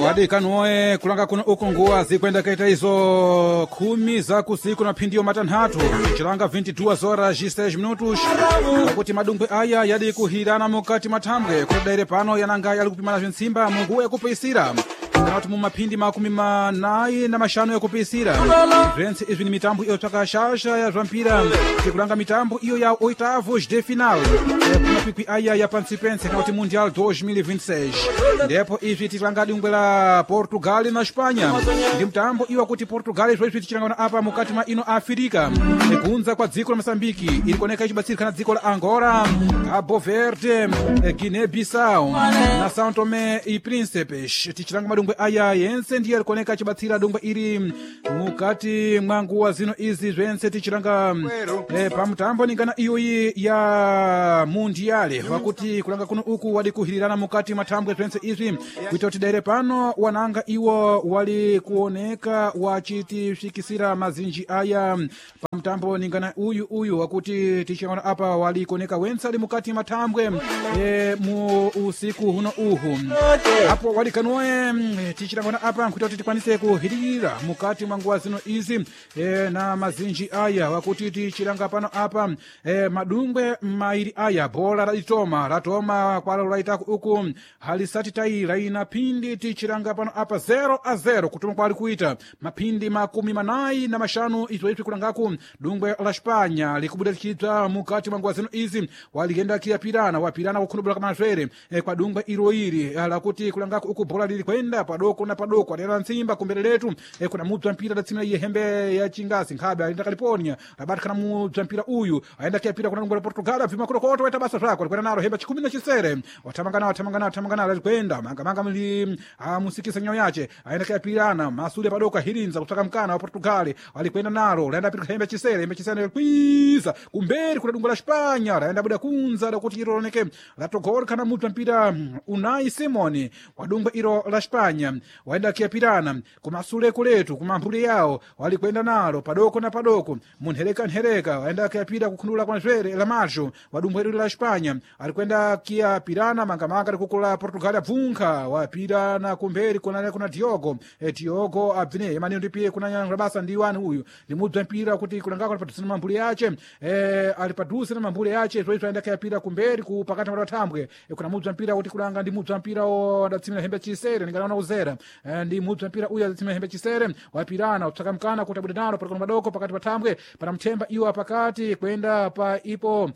Wadikanuoe kulanga kuno uku nguwa zikwenda kaita izo 10 za kusiku na phindiyo matanthatu, chilanga 22 horas 6 minutos, pakuti madumbwe aya yadi kuhirana mukati mathambwe kutadaire pano yananga yali kupimana bzintsimba munguwa yakupisira kana kuti mumaphindi 45 yakupisira. Bzentse izvi ni mitambo iyo tsvaka shasha ya zvampira, tikulanga mitambo iyo ya oitavos de final kumakwikwi aya ya pansipense kana kuti Mundial 2026. Ndipo izvi tikulanga dungwe la Portugal na Espanha, ndi mtambo iwa kuti Portugal zvoizvi tichilangana apa mukati mwa ino Afirika kunza kwa dziko la Mosambiki iri kuoneka ichibatsirikana dziko la Angola, Cabo Verde, Guiné Bissau na São Tomé e Príncipe. Tichilanga madungwe aya yense ndiye arikuoneka achibatsira dungwe iri mukati mwa nguwa zino izi zvense tichilanga pamutambo ningana iyoyi ya Mundiale, wakuti kulanga kuno uku wali kuhirirana mukati mathambwe zvense izvi kuita kuti daire pano wananga iwo wali kuoneka wachitisvikisira mazinji aya pamutambo ningana uyu uyu wakuti tichilangana apa wali kuoneka wense ali mukati mathambwe mu usiku huno uhu apo walikanuwe tichilangana apa nkuita kuti tikwanise kuhiririra mukati mwa nguwa zino izi na mazinji aya wakuti tichilanga pano apa madungwe mairi aya bhola raditoma ratoma kwalo laitaku uku halisati tai laina phindi tichilanga pano apa 0-0 kutoma kwali kuita maphindi 45 izvo izvi kulangaku dungwe la Spanya likubuda lichibza mukati mwa nguwa zino izi waligenda kiyapirana wapirana kukhunubula kamazvere kwa dungwe iro iri lakuti kulangaku uku bhola lili kwenda padoko na padoko adera ntsimba kumbere letu kuna mubza mpira datsimira iye hembe ya chingasi nkhabe aenda California abatikana mubza mpira uyu aenda kiyapira kuna dungwe la Portugal abvima kurokoto waita basa zvako likwenda naro hembe 17 watamangana watamangana watamangana likwenda mangamanga mli amusikisa nyawo yace aenda kiyapirana masule padoko ahirinza kutsvaka mkana wa Portugal alikwenda naro laenda pira hembe chisere hembe chisere kwiza kumberi kuna dungwe la Spanya laenda buda kunza lakuti iro loneke latogorka na mubza mpira Unai Simoni wadungwe iro la Spanya waenda kiyapirana kumasule kuletu kumamphuli yawo walikwenda nalo padoko na padoko munhereka nhereka waenda kiyapira kukhundula kwa zwere la majo wadumbwe iro la Spanya alikwenda kiyapirana mangamanga likukula Portugal abvunkha wapirana kumberi kuna kuna Diogo Diogo abvine emani ndipiye kuna nyanga basa ndi wani uyu ndimubza mpira kuti kulangako ali padhuze na mamphuli yace ali padhuze na mamphuli yace zvoizvo aenda kiyapira kumberi ku pakati pa thambwe kuna mubza mpira kuti kulanga ndi mubza mpira wadatsimira hembe chisere ndinganaona kuzera ndi mubza mpira uyu adatsimira hembe chisere wapirana utsvaka mkana kuti abude nalo palikona madoko pakati pa thambwe pana mthemba iwo pakati kwenda pa ipo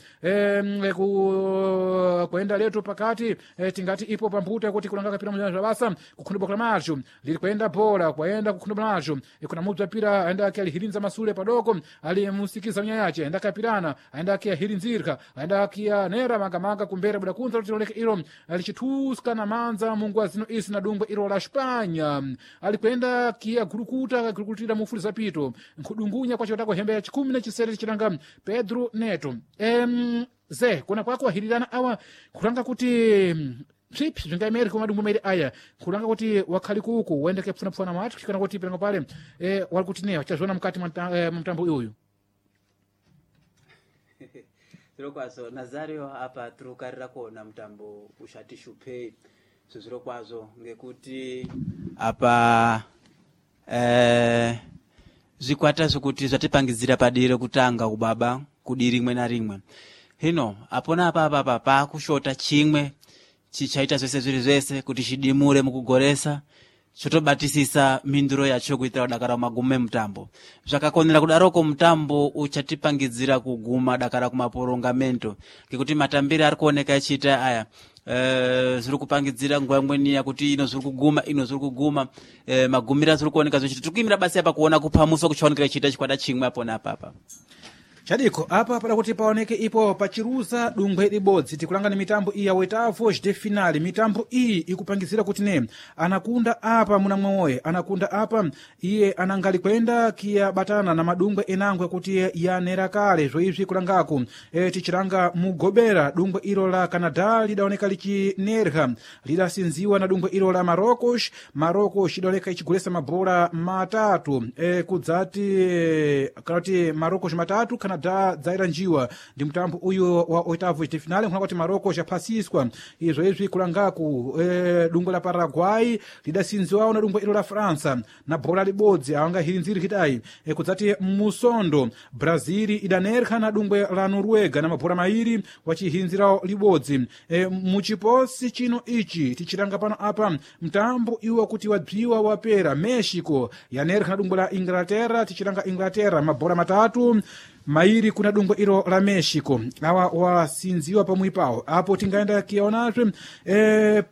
kwenda letu pakati tingati ipo pambuto kuti kulanga kapira mujana zvabasa kukhundubwa kwa macho lili kwenda bhola kwaenda kukhundubwa nacho kuna mubza mpira aenda akialihirinza masule padoko alimusikiza mnya yace aenda akapirana aenda akiahirinzirka aenda akianera mangamanga kumbere buda kunza kuti loleke ilo lichithuska na manza munguwa zino isi na dungwe ilo la Spanya alikwenda kia gurukuta gurukutira mufuli zapito nkhudungunya kwachotako hembe ya 17 chilanga Pedro Neto ze kuna kwako wahirirana awa kulanga kuti psipi zvingaimeri kumadungwe mairi aya kulanga kuti wakhali kuku uendeke pfunapfuna matu kana kuti pilango pale wali kuti ne wachazviona mukati mwa mtambo uyu. Zvirokwazvo Nazario, apa tiri kukarira kuona mutambo ushati shupei zvirokwazvo ngekuti apa zvikwata zvekuti zvatipangidzira padiri rekutanga kubaba kudi rimwe narimwe hino apona apa apa apa paakushota chimwe chichaita zvese zviri zvese kuti chidimure mukugoresa chotobatisisa mhinduro yacho kuitira kudakara magumo emutambo. Zvakakonera kudaroko mutambo uchatipangidzira kuguma dakara kumaporongamento ngekuti matambiro ari kuoneka echiita aya zviri kupangidzira nguva imweni yakuti ino zviri kuguma ino zviri kuguma magumiro azviri kuoneka zvichiti tiri kuimira basi apa kuona kuphamusa kuchaonekera chiita chikwata chimwe apo neapapa. Chadiko apa pada kuti paoneke ipo pachiruza dungwe libodzi tikulanga ni mitambo iyi ya oitavos de finale. Mitambo iyi ikupangizira kuti ne anakunda apa muna mwewoye anakunda apa iye anangali kwenda kiyabatana na madungwe enangwe kuti yanera kale zvoizvi kulangaku tichilanga mugobera dungwe ilo la Canada lidaoneka lichinerha lidasinziwa na dungwe ilo la Marocos. Marocos idaoneka ichigulesa mabhola matatu kudzati kana kuti Marocos matatu Canada Canadá dzairanjiwa ndi mtambo uyu wa oitavos de finale nkhuna kuti Marocos yaphasiswa izvo izvi kulangaku dungwe la Paraguay lidasinziwawo na dungwe ilo la França na bola libodzi awangahirinziri kitayi kudzati musondo Brazil idanerkha na dungwe la Noruega na mabhola mairi wachihinzirawo libodzi. Muchiposi chino ichi tichilanga pano apa mtambo iwo kuti wabziwa wapera Mexico yanerkha na dungwe la Inglaterra tichilanga Inglaterra mabhola 3 mairi kuna dungwe ilo la Mexico awa wasinziwa pamwe pawo apo tingaenda kiyaonazve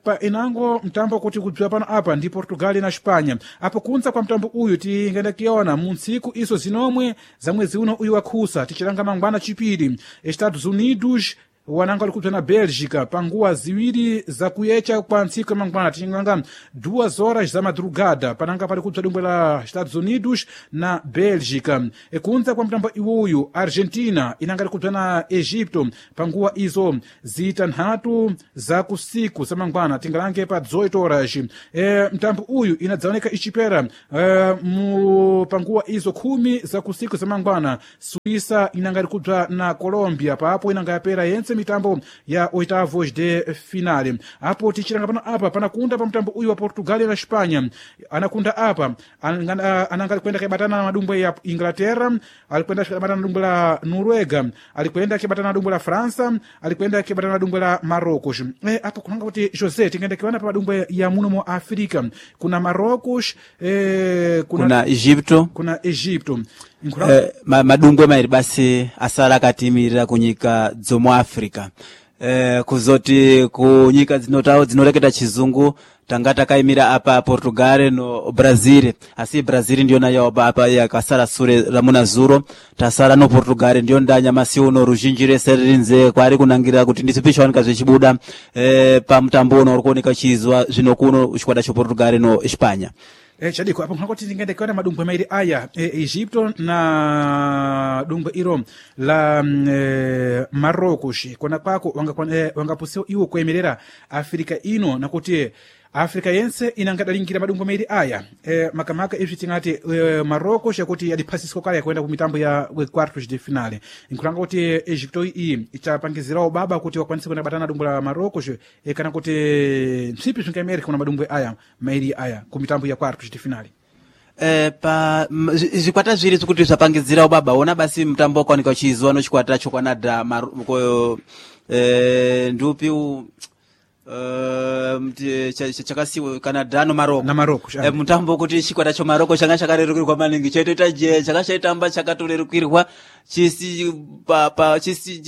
pa inango mtambo kuti kudziwa pano apa ndi Portugal na Espanha apo kunza kwa mtambo uyu tingaenda kiyaona mu ntsiku izo zinomwe za mwezi uno uyu wakhusa tichilanga mangwana chipiri Estados Unidos wananga ali kupsa na Bélgica panguwa ziwiri zakuyecha kwa ntsiku ya mangwana tichinganga 2 horas za madrugada pananga pali kupsa dungwe la Estados Unidos na Bélgica. Kunza kwa mtambo iwuyu Argentina inanga ali kupsa na Egipto panguwa izo zitanthatu za kusiku za mangwana tingalange pa 18 horas. Mtambo uyu inadzaoneka ichipera mu panguwa izo 10 za kusiku za mangwana Suíça inanga ali kupsa na Colombia papo inanga yapera yense mitambo ya oitavos de finale apo tichilanga pano apa panakunda pa mtambo uyu wa Portugal na Espanha anakunda apa ananga alikwenda kibatana na madumbwe ya Inglaterra alikwenda kibatana na dumbwe la Noruega alikwenda kibatana na dumbwe la França alikwenda kibatana na dumbwe la Marocos. Apo kunanga kuti José tingaenda kiwana pa madumbwe ya muno mu Afrika kuna Marocos kuna Egipto kuna Egipto madumbwe mairi basi asala akatimirira kunyika dzomu Africa. Kuzoti kunyika dzinotawo dzinoreketa chizungu tanga takaimira apa Portugal no Brazil asi Brazil ndiyo nayo apa yakasala sure ramuna zuro tasala no Portugal ndiyo ndanya masi uno ruzhinji rese ririnze kwari kunangira kuti ndisipi chaoneka zvichibuda pa mutambo uno uri kuoneka chizwa zvino kuno chikwata cho Portugal no Espanya. Chadiko apo nkhakoti tingaenda kuona madumbwe mairi aya Egipto na dumbwe iro la Marocos kona kwako wangapusiwa iwo kuemerera Afrika ino nakuti Afrika yense inangadalingira madumbwe mairi aya makamaka izvi tingati Marocos yakuti yadiphasiswa kale yakuenda ku mitambo ya quartos de finale nkulanga kuti Egipto iyi ichapangizirawo baba kuti wakwanise kuenda batana dumbwe la Marocos kana kuti ntsipi zvingaemereka kuna madumbwe aya mairi aya ku mitambo ya quartos de finale. Pa zvikwata zviri zvikuti zvapangidzira ubaba ona basi mutambo wakaoneka uchiizwa nochikwata choKanada ndupi chakasiwa Canada no Marocco na Marocco mutambo kuti chikwata cho Marocco changa chakarerukirwa maningi chaitoita je chakachaitamba chakatorerukirwa chisi pa chisi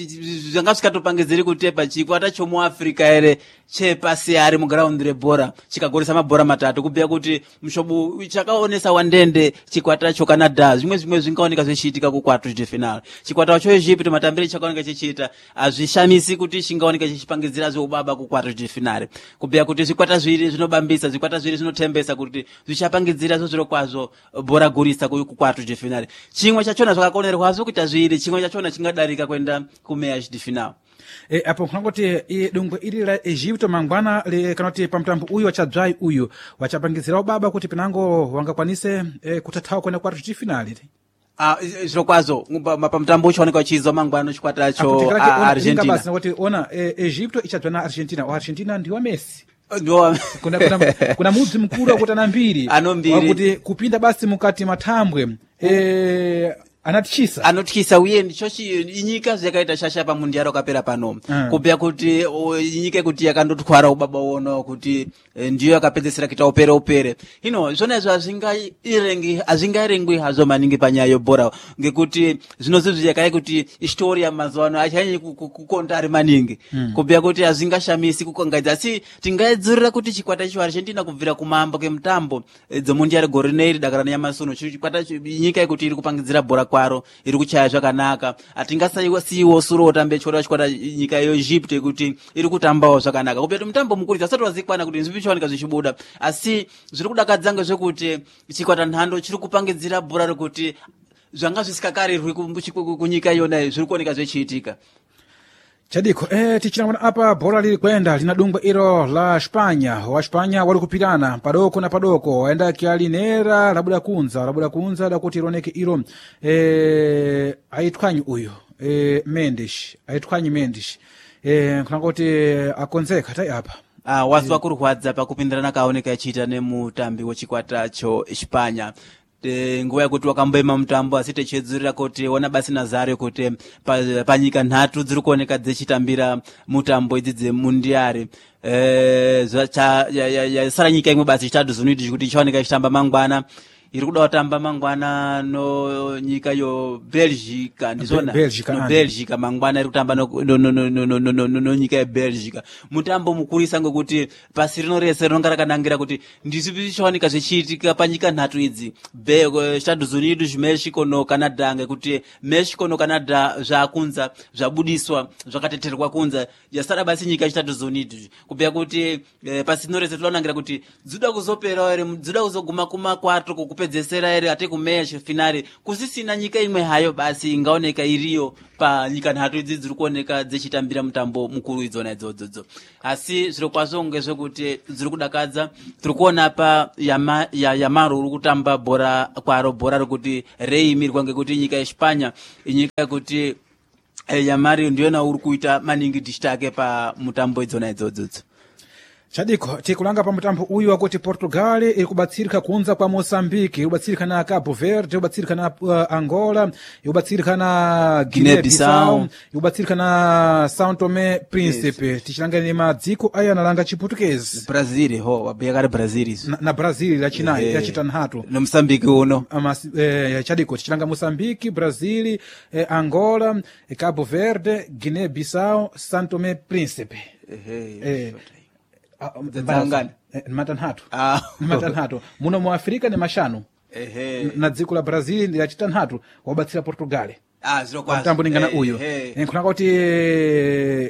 zvanga zvikatopangidziri kutepa chikwata chomuAfrica ere chepasi ari mugraundi rebhora chikagoresa mabhora matatu kubhuya kuti mushobo chakaonesa wandende chikwata cho Canada zvimwe zvingaoneka zvichiitika ku quartos de final chikwata cho Egypt matambire chakaoneka chichiita azvishamisi kuti chingaoneka chichipangidzira zveubaba ku quartos de finale kubhuya kuti zvikwata zviri zvinobambisa zvikwata zviri zvinotembesa kuti zvichapangidzira zviro kwazvo bhora gurisa ku quartos de finale chimwe chachona zvakakonerwazvo kuita zviri chimwe chachona chingadarika kuenda kumeias de final. Apo nkhangoti dungwe iri la Egipto mangwana kana kuti pamtambo uyu wachadzvai uyu wachapangizirawo baba kuti pinango wangakwanise kutathawa kuenda quartos de finale. Zviro kwazvo pamutambo uchaoneka uchizwa mangwana chikwata cho Argentina basi kuti ona Egipto ichadzva na Argentina o Argentina ndiwa Messi kuna mudzi mukuru wakuti ana mbiri ano mbiri wakuti kupinda basi mukati mathambwe anatichisa anotyisa uye ndichochi inyika zvakaita shasha pamundiaro wakapera pano kubhuya kuti inyika yekuti yakandotwara ubaba uono kuti ndiyo yakapedzesera kuita upere upere hino zvona izvo hazvingaerengwi hazvo maningi panyaya yebhora ngekuti zvinozizvi yakai kuti historia mazuva ano achanyanyi kukonda ari maningi kubhuya kuti hazvingashamisi kukangaidza asi tingaidzurira kuti chikwata cho Argentina kubvira kumambo kemutambo dzemundiaro gore rinoiri dakara nenyamasi uno chikwata nyika yekuti iri kupangidzira bhora kwaro iri kuchaya zvakanaka atingasaiwo suro utambe chikora chikwata nyika yeEgypt kuti iri kutambawo zvakanaka kupeta mutambo mukuru asati wazikwana kuti zvipi chaoneka zvichibuda asi zviri kudakadza ngezvekuti chikwata nhando chiri kupangidzira bhora rekuti zvanga zvisikakarirwi kunyika iyona zviri kuoneka zvichiitika. Chadiko tichilamwana apa bhola lili kwenda lina dungwe ilo la Spanya. Wa Spanya wali kupirana padoko na padoko, waenda kialinera labuda kunza labuda kunza dakuti iloneke ilo aitwanyi uyu Mendes, aitwanyi Mendes nkhulanga kuti akonzeka tai apa. Wazi wakurwadza pakupindirana kaoneka ichiita nemutambi wechikwata cho Espanya. Nguva yekuti wakamboema mutambo asi techedzurira kuti ona basi Nazario kuti panyika nhatu dziri kuoneka dzechitambira mutambo idzi dzemundiari. Yasara nyika imwe basi chitatu zinoiti kuti ichaoneka ichitamba mangwana, iri kuda kutamba mangwana no nyika yo Belgica, ndizvona? Belgica, No. andi. Belgica mangwana iri kutamba no nyika yeBelgica, mutambo mukurisa ngekuti pasi rino rese rinonga rakanangira kuti ndizvipi zvichaoneka zvichiitika panyika nhatu idzi, Estados Unidos, Mexico no Canada, ngekuti Mexico no Canada zvakunza zvabudiswa zvakateterwa kunza, yasara basi nyika Estados Unidos, kubhuya kuti pasi rino rese tinonangira kuti dzoda kuzopera ere, dzoda kuzoguma kumakwato kukupedzesera ere, ate kumeya finale kusisina nyika imwe hayo basi ingaoneka iriyo panyika nhatu idzi dziri kuoneka dzichitambira mutambo mukuru idzona idzodzodzo. Asi zviro kwazvo ngezvekuti dziri kudakadza, tiri kuona pa Yamaro uri kutamba bhora kwaro, bhora rekuti reimirwa ngekuti nyika yeSpanya inyika yekuti Yamari ndiyona uri kuita maningi dichitake pa mutambo idzona idzodzodzo. Chadiko tikulanga pa mutambo uyu wakuti Portugal iri kubatsirika kunza kwa Moçambique, iri kubatsirika na Cabo Verde, iri kubatsirika na Angola, iri kubatsirika na Guinea Guinea-Bissau, Bissau, iri kubatsirika na São Tomé Príncipe. Tichilanga ni madziko aya analanga Chiputukezi. Brazil ho wabhuya kare Brazil izvo. Na Brazil yachinayi, yachitanhatu. Nomusambiki uno. Chadiko tichilanga Moçambique, Brazil, Angola, Cabo Verde, Guinea Bissau, São Tomé Príncipe. Dzangani? Matanhatu. Matanhatu muno mu Afrika ni mashanu. Na dziko la Brazil ndi lachitanhatu wabatsira Portugal. Zviro kwazvo. Mtambo ningana uyu nkhulanga kuti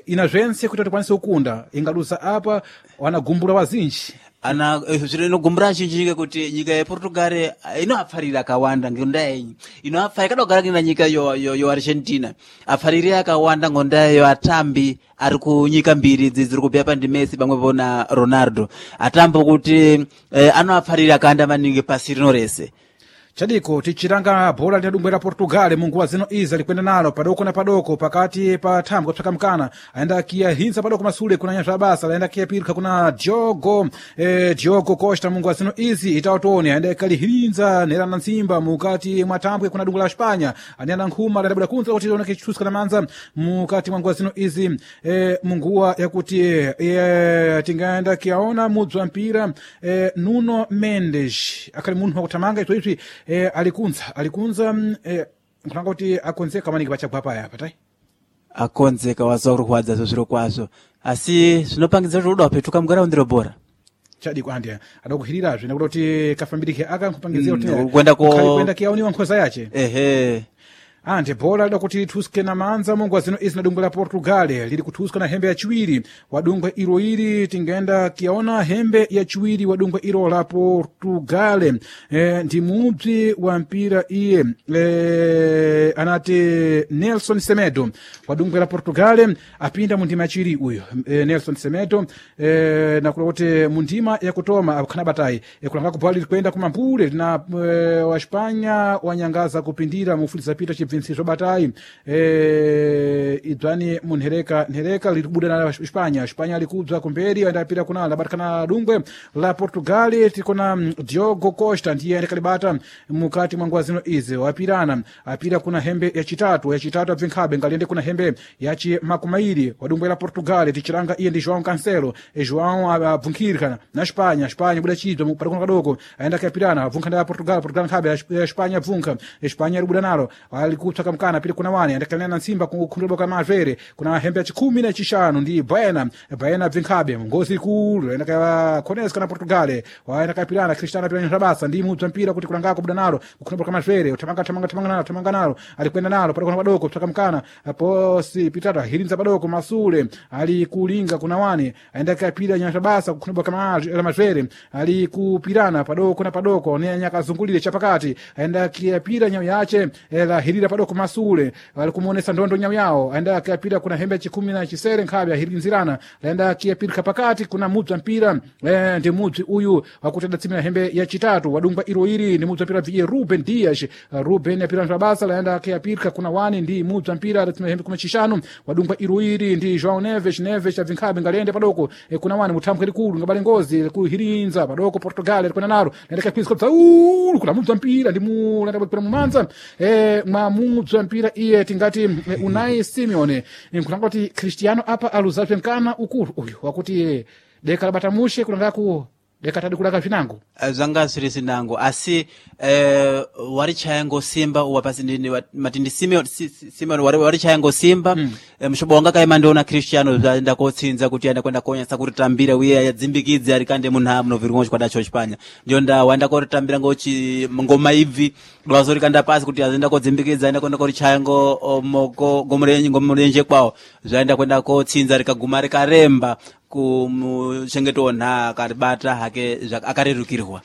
ina zvense kuti tikwanise kukunda, ingaluza apa wanagumbula wazinji. Ana zviro inogumbura zhinji ngekuti nyika yePortugal inoapfarira akawanda ngendaa yenyi inoapfarira ikada kugara na nyika yo Argentina, apfariri akawanda ngondaa yo atambi ari kunyika mbiri idzi dziri kubhuya pandi Messi pamwepo na Ronaldo, atambo kuti anoapfarira akawanda maningi pasi rino rese. Chadiko tichiranga bhola lina dungwe la Portugal munguwa zino izi alikwenda nalo padoko na padoko pakati pa thambwe kupsaka mkana, aenda kiyahinsa padoko masule kuna nyazva basa aenda kiyapirika kuna Diogo Diogo Costa munguwa zino izi itautoni aenda kalihinza nera na nsimba mukati mwa thambwe kuna dungwe la Spanya anena nkhuma adabuda kunza kuti oneke chithuska na manza mukati mwa nguwa zino izi munguwa yakuti tingaenda kiyaona mudzi wa mpira Nuno Mendes akhali munthu wakuthamanga izvo izvi alikunza alikunza nkhulanga kuti akonzeka maningi pachagwa paya apa tai. Akonzeka waziwa kurwadza zviro kwazvo, asi zvinopangidza kuti uda wapetuka mugaraundiro bhora. Chadiko andi adakuhirirazve nekuti kuti kafambirike aka nkupangizira kuti Kuenda kuenda kiyaoniwa nkhoza yace. Ante bhola lida kuti lithuske na manza munguwa zino izi na dungwe la Portugal lili kuthuska na hembe yachiwiri wa dungwe ilo ili tingaenda kiyaona hembe yachiwiri wa dungwe ilo la Portugal ndi mubzi wa mpira iye anati Nelson Semedo wa dungwe la Portugal apinda mu ndima yachiwiri uyu Nelson Semedo nakula kuti mu ndima yakutoma akhana batayi kulanga kubhola lili kwenda kumambule lina wa Spanya wanyangaza kupindira mufuliza pita chibvinsi batayi idzwani munhereka nhereka liri kubuda na Spanya. Spanya likubza kumberi andapira kuna labatikana dungwe la Portugal tikona Diogo Costa ndiye andikalibata mukati mwa nguwa zino izi wapirana apira kuna hembe yachitatu yachitatu abvinkhabe ngaliende kuna hembe yachi makumairi wa dungwe la Portugal tichilanga iye ndi João Cancelo. João abvunkhirika na Spanya. Spanya buda chidzwa padoko kadoko aenda kuyapirana abvunkha nda Portugal. Portugal nkhabe Spanya abvunkha Spanya alibuda nalo alikupsaka mkana apita kuna wani andakalina na nsimba kukhundula kwa mavere kuna hembe ya chikhumi na chishanu ndi Baena. Baena abvinkhabe ngozi ikulu aenda ka Koneska na Portugal waenda kayapirana Cristiano apirana rabasa ndi mudzi wa mpira kuti kulangako buda nalo kukhundula kwa mavere uthamanga thamanga thamanga nalo thamanga nalo alikwenda nalo padoko na padoko kupsaka mkana posi pitata hirinza padoko masule alikulinga kuna wani aenda kayapira nyashabasa kukhundula kwa mavere alikupirana padoko na padoko ne nyakazungulire chapakati aenda kiyapira nyayo yache la hirira. padoko masule ali kumuonesa ndondo nyawu yawo aenda akiyapira kuna hembe chikumi na chisere nkhabe ahirinzirana laenda akiyapirika pakati kuna mubza mpira ndi mubzi uyu wakuti adatsimira hembe yachitatu wadungwa iro iri ndi mubza mpira bviye Ruben Dias. Ruben apira basa laenda akiyapirika kuna wani ndi mubza mpira adatsimira hembe kumi chishanu wadungwa iro iri ndi João Neves. Neves abvinkhabe ngalende padoko kuna wani muthambwe likulu ngabale ngozi kuhirinza padoko Portugal likwena naro laenda kakwizika bzaulu kuna mubza mpira ndi mu laenda kwera mumanza mwa mubza mpira iye tingati Unai Simeone nkulanga kuti Cristiano apa aluzapye mkana ukulu uyu wakuti deka labatamushe kulangaku deka tadi kulaka vinango. Zvanga zviri zinango asi warichaya ngosimba uwa pasi mati ndi Simeon, Simeon warichaya ngosimba mushobo wanga kaima ndiona Cristiano zvaenda kotsinza kuti aenda kwenda konyasa kuritambira uye yadzimbikidze ari kande munhu munovirwa chikwada cho Chipanya ndiyo nda waenda koritambira ngochi ngoma ibvi dwazorikanda pasi kuti azoenda kodzimbikidza aenda kwenda korichaya ngo moko ngomurenje kwawo zvaenda kwenda kotsinza rikaguma rikaremba kumuchengeto nha akaribata hake akarerukirwa.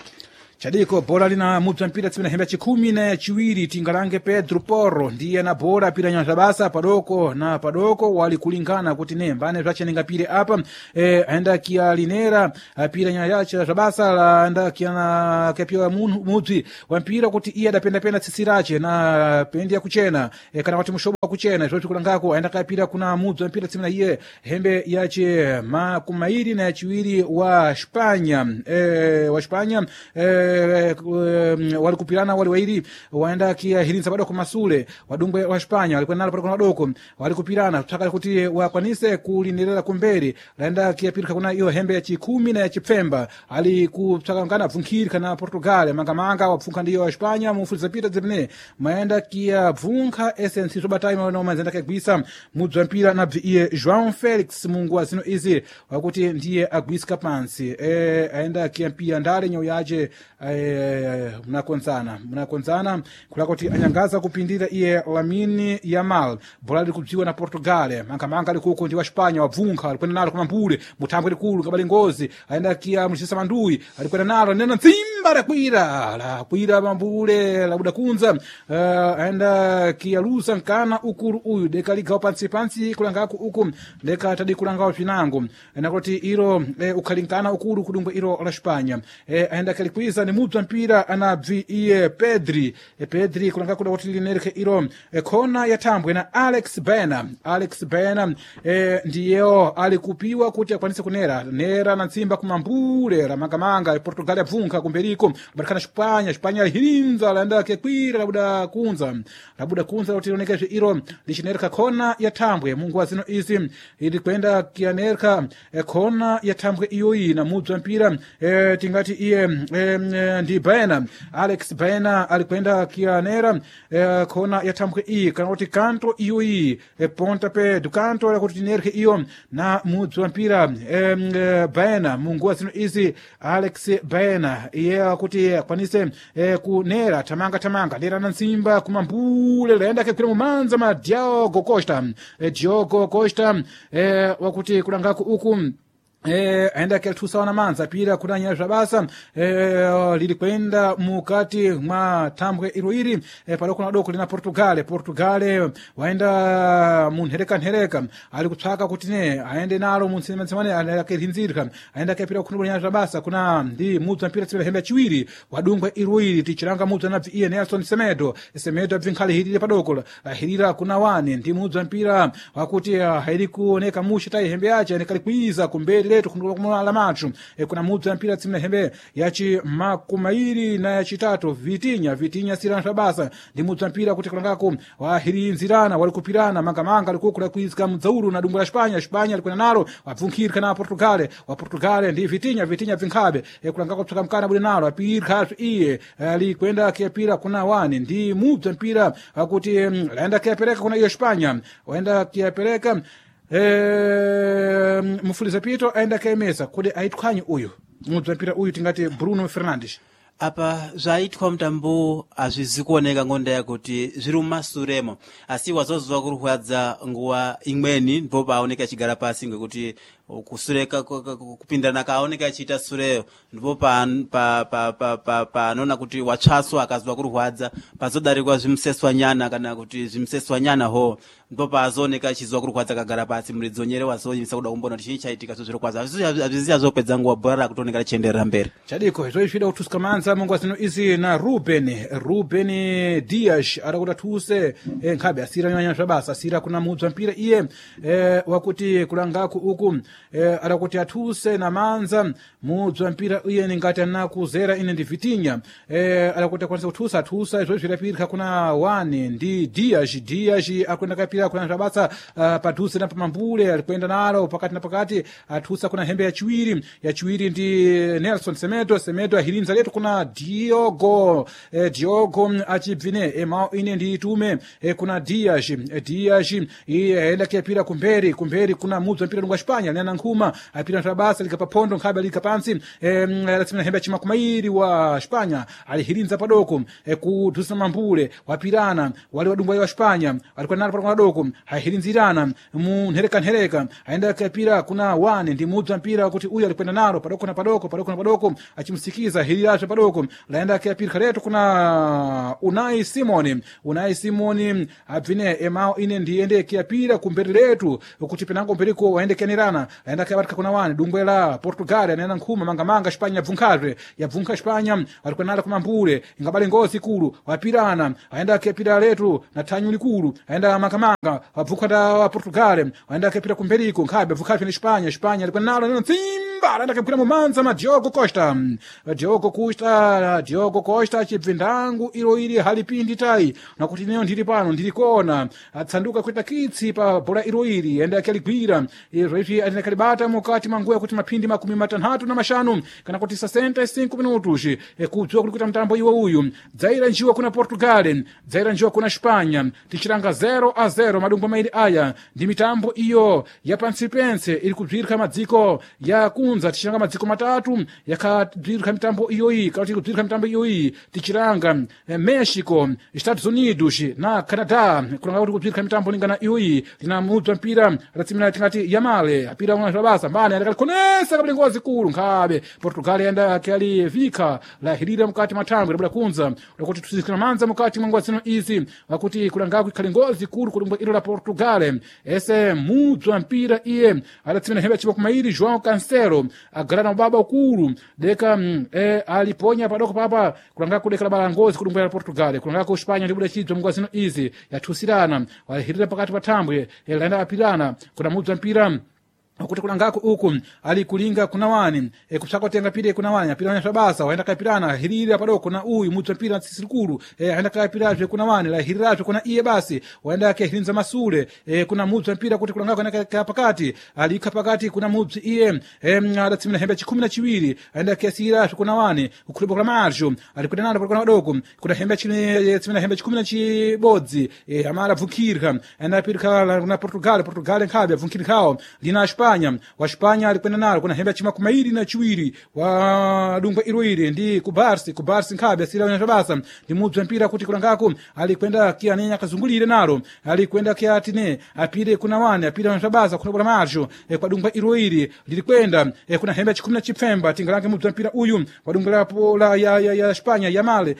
Chadiko bora lina mubza mpira tsimina hembe chikumi na chiwiri tingalange Pedro Porro ndiye na bora pira nyanja basa padoko na padoko wali kulingana kuti ne mbane zvachenenga pire apa aenda kia linera pira nyanja yache zvabasa laenda kia na kepiwa mubzi wa mpira kuti iye adapenda penda tsitsi rache na pendi ya kuchena kana kuti mushobo wa kuchena zvoti kulangako aenda kapira kuna mubzi wa mpira tsimina iye hembe yache makumairi na yachiwiri wa Spanya wa Spanya walikupirana wali wairi waenda kia hirinza padoko masule wadungwe wa Spanya walikwenda nalo padoko madoko walikupirana tsaka kuti wakwanise kulindirira kumberi laenda kia pirika kuna iyo hembe ya chikumi na ya chipfemba ali kutsaka ngana bvunkhiri kana Portugal mangamanga wapfunkha ndiyo wa Spanya mufuliza pita zimene maenda kia bvunkha essence zobatai maona mazenda kagwisa mudzi wa mpira na bvi iye João Felix mungu wa zino izi wakuti ndiye agwiska pansi aenda kia mpira ndale nyau yache munakonzana kulakoti anyangaza kupindira iye Lamine Yamal bola likubziwa na Portugal mangamanga likuko ndi wa Spanya wabvunkha alikwenda nalo kumambule muthambwe likulu ngabali ngozi aenda kia mchisa mandui alikwenda nalo nena nzimba lakwira lakwira mambule labuda kunza aenda kia lusa nkana ukulu uyu deka ligawa pansi pansi kulangaku uku deka tadi kulangawo pinango nakuti iro ukhalinkana ukulu kudumbwe iro la Spanya aenda kalikwiza ni mubza mpira anabvi iye Pedri Pedri kulanga kuda kuti linereke iro khona ya thambwe na Alex Bena. Alex Bena ndiyeyo ali kupiwa kuti akwanise kunera nera na ntsimba kumambule la mangamanga Portugal yabvunkha kumberiko batikana Spanya Spanya lihirinza laenda kekwira labuda kunza kuti lionekeze iro lichinereka khona ya thambwe mungu wa zino izi ili kwenda kianereka khona ya thambwe iyoyi na mubza mpira tingati iye ndi Baena Alex Baena alikwenda kianera khona ya thambwe iyi kana kuti kanto iyoyi ponta pe dukanto lakuti tinereke iyo na mudzi wa mpira Baena mungu wa zino izi Alex Baena iye akuti akwanise kunera tamanga nera na ntsimba kumambule laenda kekwira mumanza ma Diogo Costa Diogo Costa wakuti kulangaku uku aenda kelithusa wana manza pira kunanya zvabasa lili kwenda mukati mwa thambwe iro iri padoko na doko lina Portugal. Portugal waenda munherekanhereka ali kutsvaka kuti ne aende nalo muntsimanitsimane akelinzirika aenda kepira kukhundubulanya zvabasa kuna ndi mubza mpira tsipira hembe yachiwiri wadungwa iro iri tichilanga mubza nabvi iye Nelson Semedo. Semedo abvinkhale hirire padoko lahirira kuna wani ndi mubza mpira wakuti hairi kuoneka mushe tayi hembe yache anekalikwiza kumberi letu khundula mathu kuna mubza mpira tsimna hembe yachi makumairi na yachitatu Vitinya sira basa ndi mubza mpira kuti kulangako wahirinzirana walikupirana mangamanga likukula kuizika mudzaulu na dungu la Spanya. Spanya likwena nalo wabvunkhirika na Portugal wa Portugal ndi Vitinya bvinkhabe kulangako psaka mkana buli nalo apirikha iye likwenda kiyapira kuna wani ndi mubza mpira wakuti laenda kiyapereka kuna iyo Spanya waenda kiyapereka mufuliza pito aenda kaemesa kuti aitkhwanyi uyu mubza mpira uyu tingati Bruno Fernandes. Apa zvaitwa mutambo hazvizi kuoneka ngonda yakuti zviri mumasuremo asi wazoziva kurwadza nguva imweni ndipo paoneka achigara pasi ngekuti Kusureka kupindana kaoneka achiita sureyo ndipo panona kuti watsvaswa akazwa kurwadza pazodarikwa zvimuseswanyana kana kuti zvimuseswanyana ho ndipo pazooneka achizwa kurwadza akagara pasi muridzi wenyere wazoyimisa kuda kumbona kuti chii chaitika zvo zvirokwaza hazviziya zvopedza nguva bhora rakutooneka richienderera mberi. Chadiko izvo izvida kutuska manza munguva zino izi na Ruben Dias ada kuti athuse nkhabe asira nyanya zvabasa asira kuna mubza mpira iye wakuti kulangaku uku ada kuti athuse na manza mubza mpira iye ningati anakuzera ine ndi Vitinha ada kuti akwanise kuthusa athusa izvo zvirapirika kuna 1 ndi Dias akwenda kapira kuna zvabasa padhuze na pamambule alikwenda nalo pakati na pakati athusa kuna hembe yachiwiri ndi Nelson Semedo ahirinza letu kuna Diogo Diogo achibvine mao ine ndi itume kuna Dias iye aenda kuyapira kumberi kuna mubza mpira lungwa Espanya lina nkhuma apira nthabasa lika paphondo nkhabe lika pansi latsimina hembe yachimakumairi wa Espanya alihirinza padoko kudhusa mambule wapirana wali wadungwa wa Espanya alikuwa nalo padoko padoko ahirinzirana munhereka aenda kuyapira kuna wane ndi mubza mpira kuti uyu alikwenda nalo padoko na padoko padoko na padoko achimsikiza hirirazve padoko laenda kuyapira kaletu kuna Unai Simoni abvine emao ine ndiende kuyapira kumberi letu kuti penango mberiko waende kenerana laenda kuyabatika kuna wane dungwe la Portugal anena nkhuma mangamanga Espanya yabvunkhazve yabvunkha Espanya alikwenda nalo kumambule ingabale ngozi ikulu wapirana aenda kuyapira letu na thanyu likulu aenda mangamanga wabvunkha nda wa Portugal aenda kuyapira kumberiko nkhabe abvunkhazve ni Espanya alikwenda nalo nena tsimba laenda kuyapira mumanza ma Diogo Costa achibve ndangu ilo ili halipindi tai nakuti ineyo ndili pano ndilikona atsanduka kuita kitsi pa bhola ilo ili ende akaligwira izvo izvi atenda kalibata mukati manguya kuti maphindi 65 kana kuti 65 minutos kudziwa kuli kuita mtambo iwo uyu dzaira njiwa kuna Portugal dzaira njiwa kuna Espanya tichiranga 0-0 madungwa mairi aya ndi mitambo iyo ya pansipense iri kubzirika madziko ya kunza tichiranga madziko matatu yakabzirika mitambo iyoyi kana kuti kubzirika mitambo iyoyi tichiranga Mexico, Estados Unidos na Canadá kulanga kuti kubzirika mitambo lingana iyoyi lina mubza mpira ratsimira tingati Yamale apira una zvabasa mbani andakalikonesa kabili ngozi kulu nkhabe Portugal yanda kyali vika lahirira mukati mathangwe labuda kunza lakuti tusizikira manza mukati mwa nguva zino izi wakuti kulangaku ikhali ngozi kulu kulumbwa ilo la Portugal ese mubza mpira iye adatsimira hembe yachipa kumairi João Cancelo agala na ubaba ukulu deka aliponya padoko papa kulangaku deka labala ngozi kulumbwa la Portugal kulangaku Espanya ndibuda chidzwa munguva zino izi yathusirana walihirira pakati pa thambwe laenda apirana kuna mubza mpira kuti kulangako uku ali kulinga kuna wani kupsaka kutenga pire kuna wani apira wanya basa waenda kapirana hirira padoko na uyu mutsa mpira tsisikulu aenda kapirazve kuna wani la hirirazve kuna iye basi waenda kehirinza masule kuna mutsa mpira kuti kulangako aenda ka pakati alikha pakati kuna mutsi iye adatsimira hembe 12 aenda kesirazve kuna wani kukhulibwa kula marjo ali kuna nalo kuna padoko kuna hembe chine tsimira hembe 11 amala bvukirka aenda pirka kuna Portugal nkhabe abvukirkawo lina Espanya wa Espanya alikwenda nalo kuna hembe chimakumairi na chiwiri wa dungwa iroiri ndi kubarsi nkhabe asira wanya basa ndi mubza mpira kuti kulangako alikwenda kianenya akazungulire nalo alikwenda kiatine apire kuna wane apire wanya basa kuna bora marjo kwa dungwa iroiri lilikwenda kuna hembe 17 tingalange mubza mpira uyu wa dungwa la, la ya Espanya Yamale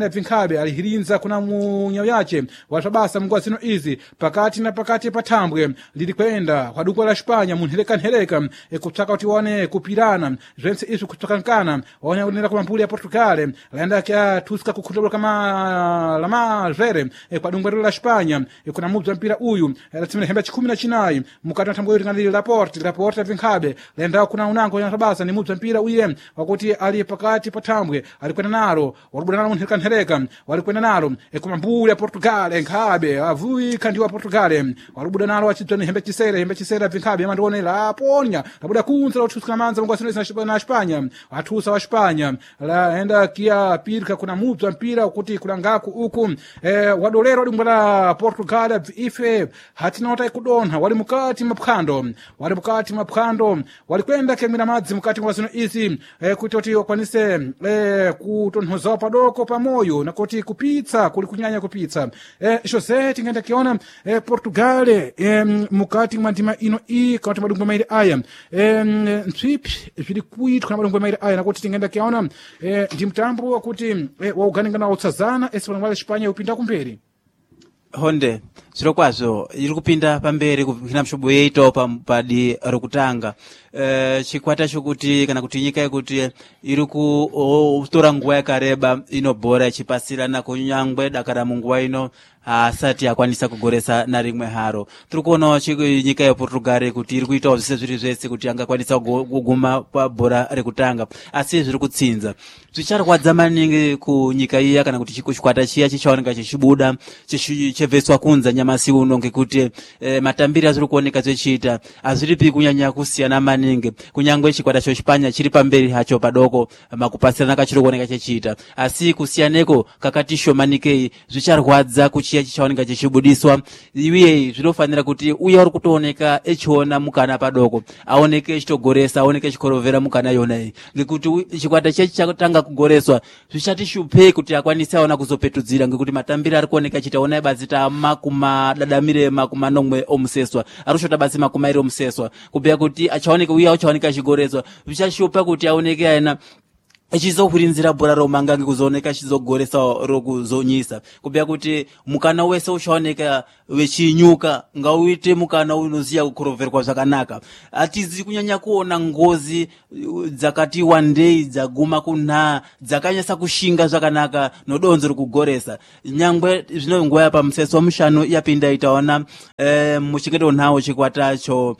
abvinkhabe alihirinza kuna munyawo yace wa basa munguwa zino izi pakati na pakati pathambwe lilikwenda kwa dungwa la Espanya munherekanhereka kupsaka kuti waone kupirana zvense izvi kutsvakankana waone kunena kumambuli ya Portugal laenda kyathuska kukhutulwa kama lamazvere kwa dungwa la Espanya kuna mubza mpira uyu latsimira hembe 19 mukati mwa thambwe ringani Laporte abvinkhabe laenda kuna unango ya basa ni mubza mpira uye wakuti ali pakati pa thambwe alikwenda nalo walubuda nalo munherekanhereka walikwenda nalo kumambuli ya Portugal nkhabe avuika ndi wa Portugal walubuda nalo achidzwa ni hembe chisere abvinkhabe amandione laponya labuda kunza lauthuska manza mungu asino na Espanya athusa wa Espanya laenda kia pirka kuna mubza mpira kuti kulangaku uku wadolero dungwa la Portugal ife hatina kudontha wali mukati maphwando walikwenda kemwera madzi mukati mwa zino izi kuti kuti wakwanise kutonthozawo padoko pamoyo nakuti kupitsa kuli kunyanya kupitsa José tingaenda kiona Portugal mukati mwa ndima ino iyi kana kuti madumbwe mairi aya ntswipi zviri kuitwa na madumbwe mairi aya nakuti tingaenda kiaona ndi mtambo wakuti wauganingana wautsazana ese panangwala Espanha upinda kumberi. Honde zviro kwazvo iri kupinda pamberi kuhina mshobo yeitawo padi rokutanga chikwata chokuti kana kuti nyika yekuti iri kutora nguva yakareba ino bhora ichipasirana kunyangwe dakara munguva ino haasati akwanisa kugoresa narimwe haro. Tiri kuonawo nyika yePortugal kuti iri kuitawo zvese zviri zvese kuti angakwanisa kuguma pabhora rekutanga, asi zviri kutsinza. Zvicharwadza maningi kunyika iya kana kuti chikwata chiya chichaoneka chichibuda chibveswa kunza nyamasi uno ngekuti matambiro azviri kuoneka zvechiita hazviripi kunyanya kusiyana maningi, kunyangwe chikwata chochipanya chiri pamberi hacho padoko makupasirana kachiri kuoneka chechiita, asi kusiyaneko kakati shomanikei. Zvicharwadza kuchiya chichaoneka chichibudiswa, uye zvinofanira kuti uya uri kutooneka echiona mukana padoko aoneke echitogoresa, aoneke echikorovera mukana yona iyi, ngekuti chikwata chechi chatanga kugoreswa zvichati shupei kuti akwanise aona kuzopetudzira, ngekuti matambiro ari kuoneka achiita onai batsi tamakuma dadamire 70 omuseswa ari kushota batsi 20 omuseswa, kubhuya kuti achaoneka uya uchaoneka achigoreswa zvichashupa kuti aoneke aina echizohwirinzira bhora romanga ngekuzooneka echizogoresa rokuzonyisa, kubhuya kuti mukana wese uchaoneka wechinyuka ngauite mukana unoziya kukorovherwa zvakanaka. Hatizi kunyanya kuona ngozi dzakati wandei dzaguma kunhaa dzakanyasa kushinga zvakanaka nodonzo rokugoresa, nyangwe zvino nguva yapamuseso mushanu yapinda itaona muchingeto nhawo chikwata cho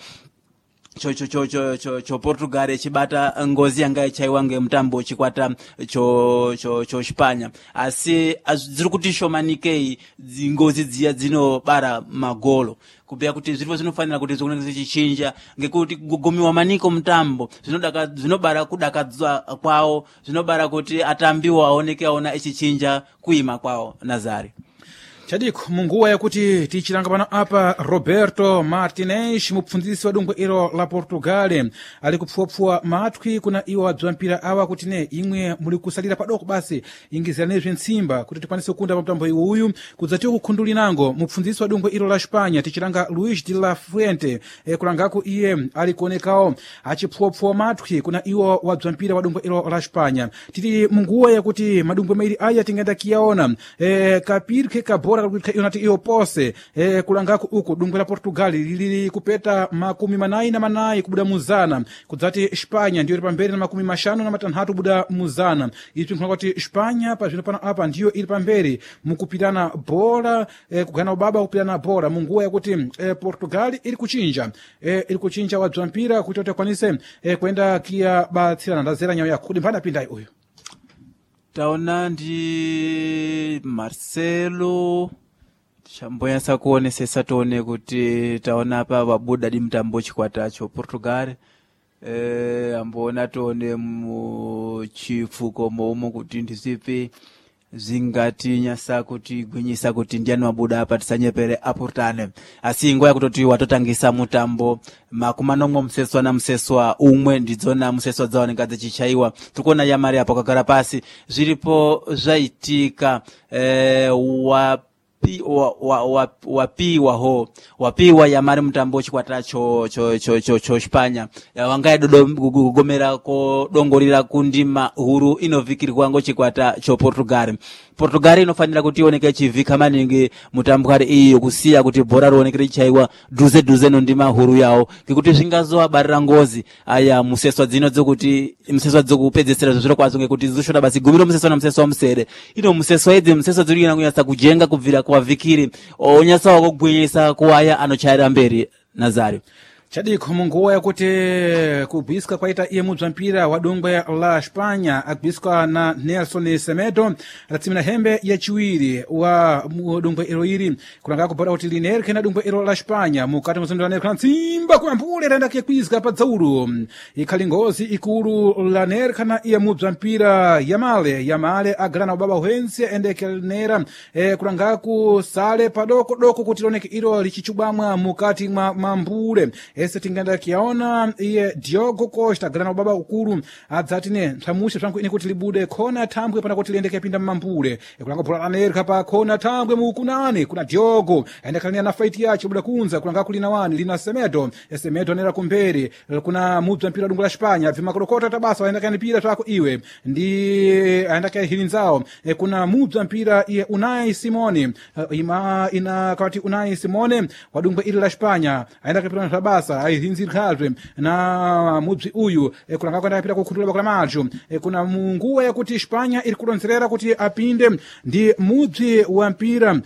cho cho cho cho cho cho Portugal ichibata ngozi yanga ichaiwa ngemutambo chikwata cho cho cho Spanya, asi dziri kuti shomanikei ngozi dziya dzinobara magolo, kubhuya kuti zviripo zvinofanira kuti zvikoneke zvichichinja, ngekuti kugumiwa maniko mutambo zvinobara kudakadzwa kwawo, zvinobara kuti atambiwo aoneke aona echichinja kuima kwawo. Nazari. Chadiko munguwa yakuti tichilanga pano apa Roberto Martinez mupfundzisi wa dungwe ilo la Portugal ali kupfuwapfuwa matwi kuna iwo abziwa mpira awa kuti ne imwe muli kusalira padoko basi ingiziranizve ntsimba kuti tikwanise kukunda pa mtambo iwu kudzatiwo kukhundulinango mupfundzisi wa dungwe ilo la Espanha tichilanga Luis de la Fuente kulangaku iye ali kuonekawo achipfuwapfuwa matwi kuna iwo wabziwa mpira wa dungwe ilo la Espanha. Tili munguwa yakuti madumbwe mairi aya tingaenda kiyaona kapirike kabora kakuti yonati iyo pose kulangaku uku dungwe la Portugal lili kupeta 44 kubuda muzana, kudzati Espanha ndiyo iri pamberi na 56 kubuda muzana. Izvi nkhona kuti Espanha pazvino pano apa ndiyo iri pamberi mukupirana bhora kugana ubaba kupirana bhora munguwa yakuti Portugal iri kuchinja iri kuchinja wabzwa mpira kuti akwanise kuenda kiya batsirana. Ndazera nyawo yako kuti mphana apindayi uyu. Taona ndi Marcelo chamboyasa kuonesesa tione kuti taona apa wabuda di mutambo chikwata cho Portugal amboona tione muchifuko moumo kuti ndizvipi zvingatinyasa kuti gwinyisa kuti ndiani wabuda apa, tisanyepere apurutane, asi nguva yakutoti watotangisa mutambo 70 museswa na museswa umwe ndidzona museswa dzaoneka dzichichaiwa. Tiri kuona yamari apo akagara pasi zviripo zvaitika wapiwa ho wapiwa yamari mutambo chikwata cho cho cho cho cho Spanya wangaye dodo kugomera kodongorera kundima huru inovikirwa ngo chikwata cho Portugal. Portugal inofanira kuti ioneke ichivhika maningi mutambwari iyi kusiya kuti bhora rioneke richaiwa dhuze dhuze nondima huru yawo, ngekuti zvingazovabarira ngozi aya museswa dzino dzekuti museswa dzokupedzesera zviro kwazvo, ngekuti dzoshota basi gumi romuseswa na museswa musere ino museswa idzi museswa dziri kunyanya kunyatsa kujenga kubvira kuvavikiri onyatsawo kugwinyisa kuwaya anochaira mberi. Nazari. Chadiko munguwa yakuti kubwiska kwaita iye mubza mpira wa dungwe la Espanha agwiskwa na Nelson Semedo atatsimira hembe yachiwiri wa dungwe ilo iri kulanga kubhoda kuti linerke na dungwe ilo la Espanha mukati muzondera nerke na tsimba kuyambule raenda kuyakwizga pa dzaulu ikhali ngozi ikulu la nerka na iye mubza mpira Yamale. Yamale agala na ubaba hwense endekelnera kulangaku sale padoko doko kuti lioneke ilo lichichubamwa mukati mwa mambule. Ese tingenda kiyaona iye Diogo Costa galana ubaba ukulu adzati ne nthamuxe bzangu ine kuti libude khona thambwe pana kuti liyende kuyapinda mmambule. Kulanga bhola lanereka pa khona thambwe mukunani kuna Diogo aenda kalina na faiti yace buda kunza kulanga kulina wani lina Semedo. Semedo anera kumberi kuna mubza mpira dungu la Spanya vimakorokota tabasa aenda kanipira twako iwe ndi aenda kahilinzao. Kuna mubza mpira iye Unai Simone, ima ina kawati Unai Simone wadungwa ili la Spanya aenda kapira tabasa ahilinzirkhazwe na mubzi uyu. Kulanga kwenda kapira kukhutula bakula macho. Kuna munguwa yakuti Spanya iri kulonzerera kuti apinde ndi mubzi wa mpira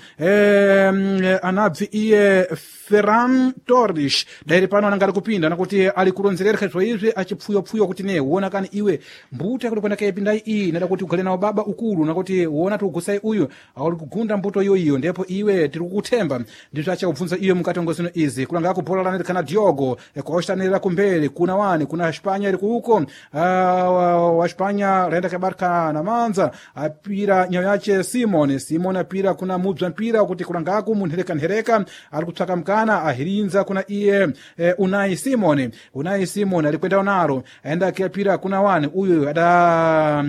anabvi iye Ferran Torres dairi pano ananga ali kupinda nakuti ali kulonzerera zvo izvi achipfuyopfuyo kuti ne uona kani iwe mbuto yakuti kwenda kayipindai iyi nada kuti ugale nawo baba ukulu nakuti uona tiugusai uyu auli kugunda mbuto iyo ndipo iwe tiri kukuthemba ndizvo achakubvunza iyo mukati ngozino izi kulanga kubhola lanerikana Diogo kwaochitanirira kumberi kuna wani kuna Spanya iri kuuko wa Spanya laenda kabarika na manza apira nyayo yace Simon. Simon apira kuna mubza mpira kuti kulangaku munherekanhereka ari kutsvaka mukana ahirinza kuna iye Unai Simon. Unai Simon alikwenda naro aenda akiyapira kuna wani uyu ada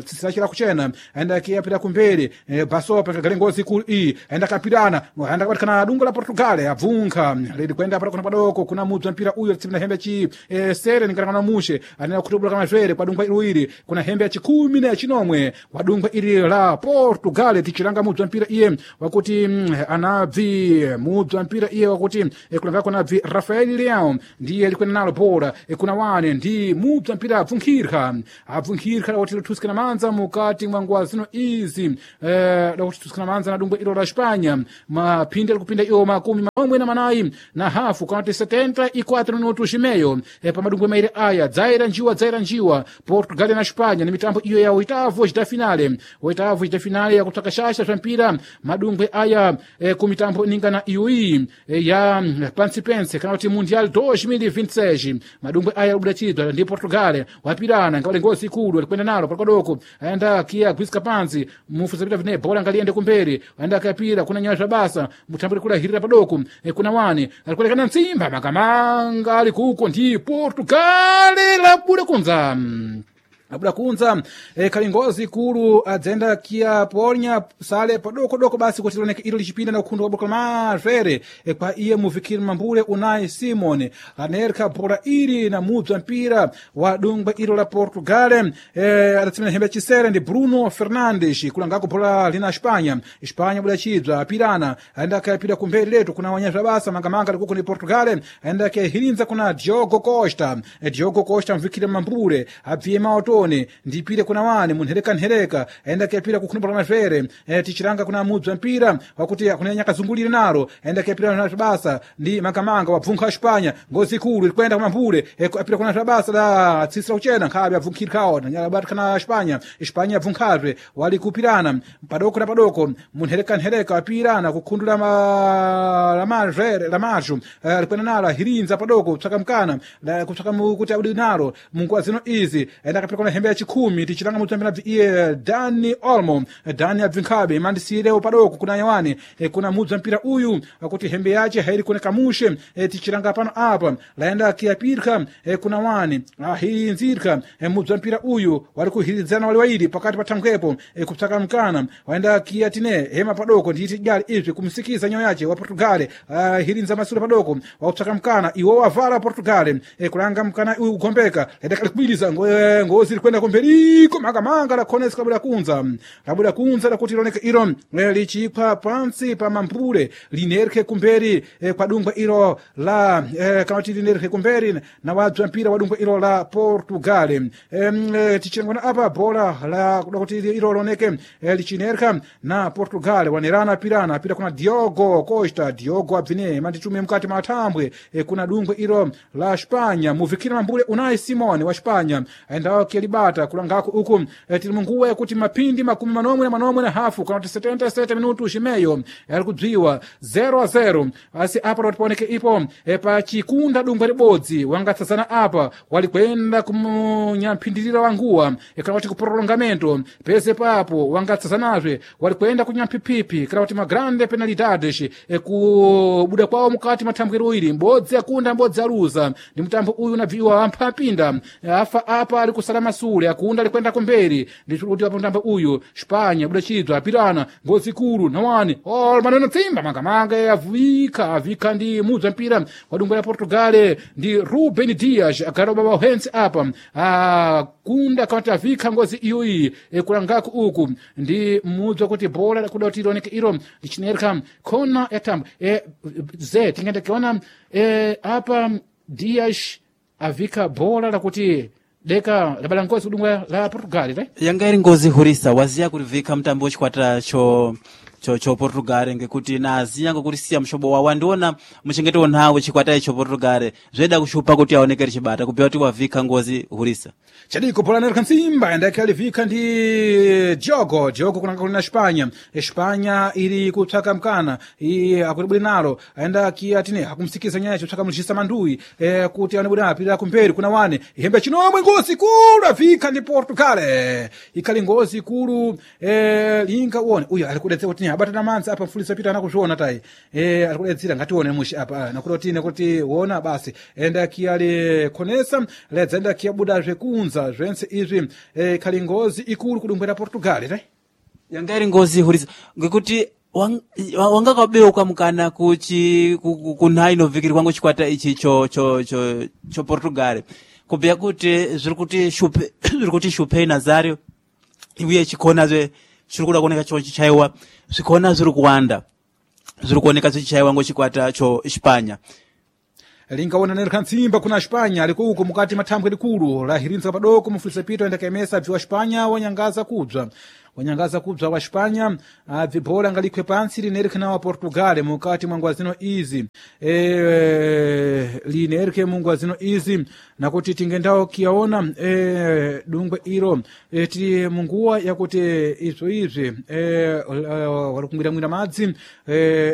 tsitsi lake lakuchena aenda akiyapira kumberi basopa kagale ngozi ikulu iyi aenda akapirana aenda akabatikana dungo la Portugal abvunkha lili kwenda para kuna padoko kuna mubza mpira uyu atsipina hembe chi sere ningalangana mushe anena kutubula kama zvere kwa dungwa iluiri kuna hembe ya chikumi na ya chinomwe kwa dungwa ili la Portugal tichilanga mubza mpira iye wakuti anabvi mubza mpira iye wakuti kulanga kuna bvi Rafael Leao ndiye likwenda nalo bora. Kuna wane ndi mubza mpira abvunkhirha abvunkhirha lakuti lithusikana manza mukati mwa nguwa zino izi lakuti lithusikana manza na dungwe ilo la Spanya maphindi alikupinda iwo 48 na hafu kana kuti 74 minutos meyo pa madungwe mairi aya dzaira njiwa dzaira njiwa Portugal na Spanya ni mitambo iyo ya oitavo da finale oitavo da finale yakutsvaka shasha zva mpira madungwe aya kumitambo iningana iyoyi ya pansipense kana kuti Mundial 2026 madungwe aya abuda chidwa ndi Portugal wapirana ngawale ngozi ikulu alikwenda nalo palikodoko aenda kia gwiska pansi mufusapita vine bola ngaliyende kumberi aenda akapira kuna nyaya zvabasa mutamburi kula hirira padoko kuna wani alikulekana ntsimba makamanga ali kuko ndi Portugal labuda kunza abuda kunza khali ngozi ikulu adzenda kia ponya sale padokodoko basi kuti lioneke ilo lichipinda na ukhundu waboka mazvere kwa iye muvikiri mambule Unai Simon anerka bhola ili na mubza mpira wa dungwe ilo la Portugal adatsimira hembe chisere ndi Bruno Fernandes kulangako bhola lina Spanya Spanya buda chibza apirana aenda akayapira kumberi letu kuna wanyazva basa mangamanga likuko ni Portugal aenda akahirinza kuna Diogo Costa. Diogo Costa mvikiri mambule abviye maoto tone ndipire kuna wani munherekanhereka aenda kuyapira kukhunupula mazvere tichiranga kuna mubza mpira wakuti kuna nyakazungulire naro aenda kuyapira na zvabasa ndi makamanga wabvunkha Spanya ngozi ikulu irikwenda kumambule apira kuna zvabasa da tsitsi lakuchena nkhabe abvunkhirikhawo nanyalabatikana Spanya Spanya abvunkhazve wali kupirana padoko na padoko munherekanhereka apirana kukhundula lamazvere lamazho alikwenda nalo ahirinza padoko kutsvaka mukana kutsvaka kuti abudi nalo munguwa zino izi aenda akapira kuna hembe ya chikhumi tichilanga mutambira bvi iye Dani Olmo. Dani abvinkhabe mandisirewo padoko kuna nyawani kuna mubza mpira uyu akuti hembe yace hairi kuoneka mushe tichilanga pano apa laenda akiyapirka kuna wani ahirinzirka mubza mpira uyu wali kuhiridzana wali wairi pakati pa thangwepo kupsaka mkana waenda akiyatine hema padoko nditi jali izvi kumsikiza nyawo yace wa Portugal ahirinza masula padoko wakupsaka mkana iwo wavala Portugal kulanga mkana uyu kugombeka laenda kalikwiliza ngozi likwenda kumberiko makamanga lakhonesa labuda kunza labuda kunza lakuti lioneke ilo lichipha pansi pa mambule linerke kumberi kwa dungwe ilo la kana kuti linerke kumberi na wabza mpira wa dungwe ilo la Portugal tichilangwana apa bola la kuti ilo lioneke lichinerka na Portugal wanerana pirana apira kuna Diogo Costa. Diogo abvine manditume mukati mwa thambwe kuna dungwe ilo la Spanya muvikira mambule Unai Simon wa Spanya aendawo kia Kelibata kulangako uku tili munguwa yakuti mapindi 47 kana kuti 77 minutos imeyo ali kubziwa 0-0 asi apa loti paoneke ipo pa chikunda dungwe libodzi wangatsazana apa walikwenda kumunyamphindirira wa nguwa kana kuti kuprolongamento pese papo wangatsazanazve walikwenda kunyamphiphipi kana kuti magrande penalidades kubuda kwawo mukati mathambwero ili mbodzi akunda mbodzi aluza ndi mutambo uyu unabviwa amphapinda afa apa ali kusala masule akunda alikwenda kumberi ndikuti apo mutambo uyu Spanya buda chidzwa apirana ngozi kulu nawani ol maneno tsimba mangamanga avika avika ndi mudzi wa mpira wa dungwe la Portugal ndi Ruben Dias agara baba uhensi apa akunda kana avika ngozi iyoyi kulangako uku ndi mudzi wakuti bola kuda kuti ilioneke ilo lichinereka khona ya thambo ze tingende kiona apa Dias avika bola lakuti deka labala ngozi kudungwe la Portugal re Yanga iri ngozi hurisa waziya kurivika mutambo wechikwata cho Portugal ngekuti naziya ngokuti siya mushobo wawo wandiona muchengeto nhawo chikwata icho Portugal zveda kushupa kuti aoneke richibata kubva kuti wavhika ngozi hurisa. Chadiko bola nereka ntsimba endeke alivika ndi Diogo Diogo kunanga kuli na Espanha. Espanha iri kutsvaka mkana akutibwere nalo aenda kiatine akumsikiza nyaya chotsvaka mulishisa mandui kuti anebwere apirira kumberi kuna wane ihembe chinomwe ngozi kulu avika ndi Portugal ikhali ngozi kulu linga uone uyo ali kudetsa kuti abatana manzi apa mfulisa pita anakuzviona tayi ali kudetsera ngatione mushi apa nakuti tine kuti wona basi enda kiyali khonesa ledza enda kiyabuda zvekunza zvense izvi khali ngozi ikulu kudumbwera Portugal tayi. Yanga iri ngozi hurisa ngekuti wangakabeuka mukana kuchi kunhai inovikirwa ngo chikwata ichi cho Portugal kubhuya kuti zviri kuti shupe zviri kuti shupe Nazario uye chikhona zve chiri kuda kuoneka cho chichaiwa zvikhona zviri kuwanda zviri kuoneka zvichaiwa ngo chikwata cho Espanya. Lingaona nereka ntsimba kuna Espanha aliko uko mukati mathambwe likulu lahirinza padoko mufulisa pito enda kaemesa bvi wa Espanha wanyangaza kubza wanyangaza kubza wa Espanha abvi bola ngalikhwe pantsi linereke na wa Portugal mukati mwa ngwa zino izi linereke mu ngwa zino izi nakuti tingendawo kiyaona dungwe iro tili munguwa yakuti izvo izvi walikungwiramwira madzi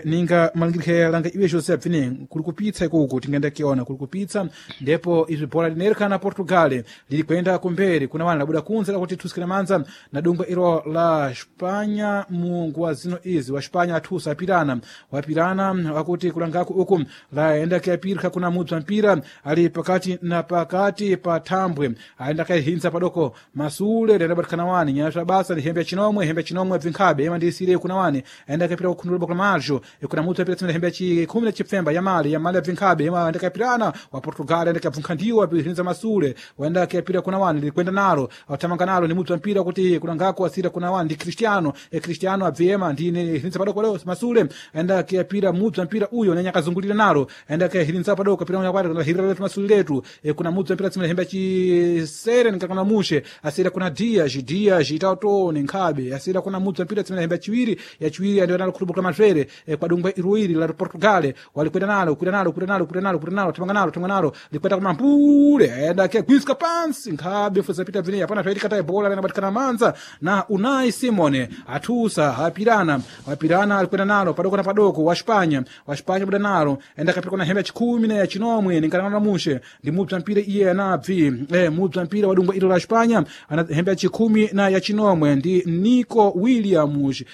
ninga malingirike langa iwe José bvine kuli kupitsa ikuku tingenda kiona kuli kupitsa ndipo izvi bola linereka na Portugal lili kwenda kumberi kuna wana labuda kunze lakuti thusikira manza na dungwe iro la Espanha mu nguwa zino izi wa Espanha athusa apirana wapirana wakuti kulangako uku laenda kuyapirika kuna mudzi wa mpira ali pakati na pakati pa thambwe aenda kayihintsa padoko masule lendabatikana wani nyaya basa ndi hembe ya chinomwe hembe ya chinomwe bvinkhabe yema ndiyisire kuna wani aenda kayapira kukhundula kuna majo kuna mudzi wapira tsimene hembe ya chikhumi na chipfemba yamali yamali ya bvinkhabe yema aenda kayapirana wa Portugal aenda kayabvunkha ndiwo apihintsa masule waenda kayapira kuna wani likwenda nalo atamanga nalo ni mudzi wa mpira kuti kulangako asira kuna wani ndi Cristiano Cristiano abviyema ndine hirinza padoko leo masule aenda kuyapira mudzi wa mpira uyo nenye akazungulira nalo aenda kuyahirinza padoko pira mwana hirira letu masule letu kuna mudzi wa mpira tsimene hembe chisere nikakana mushe asira kuna Dias Dias itautone nkhabe asira kuna mudzi wa mpira tsimene hembe chiwiri ya chiwiri andiyo nalo khulubuka mazvere kwa dungwe iruiri la Portugal walikwenda nalo kwenda nalo kwenda nalo kwenda nalo kwenda nalo tamanga nalo tamanga nalo likwenda kumambule aenda kuyagwiska pansi nkhabe fuza pita vine apana zvaitika tayi bola linabatikana manza na Unai Simone athusa apirana apirana alikwenda nalo padoko na padoko wa Espanha wa Espanha buda nalo enda kapira na hembe ya chikhumi na ya chinomwe ninkanana mushe ndi mudzi wa mpira iye anabvi mudzi wa mpira wadungwa ilo la Espanha ana hembe ya chikhumi na ya chinomwe ndi Nico Williams